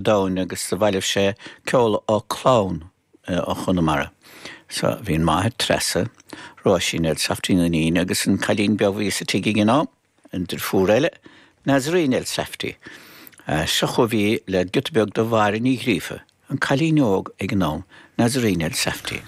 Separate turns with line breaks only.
Domhain agus do bhailigh sé ceol ó clann ó Chonamara. So bhí an máthair Treasa, Róisín Elsafty an iníon agus an cailín beag a bhí sa tigh ag an am, an deirfiúr eile, Nazarene Elsafty. Seo chugaibh í le giota beag de Mháire Ní Ghríofa, an cailín óg ag an am, Nazarene Elsafty.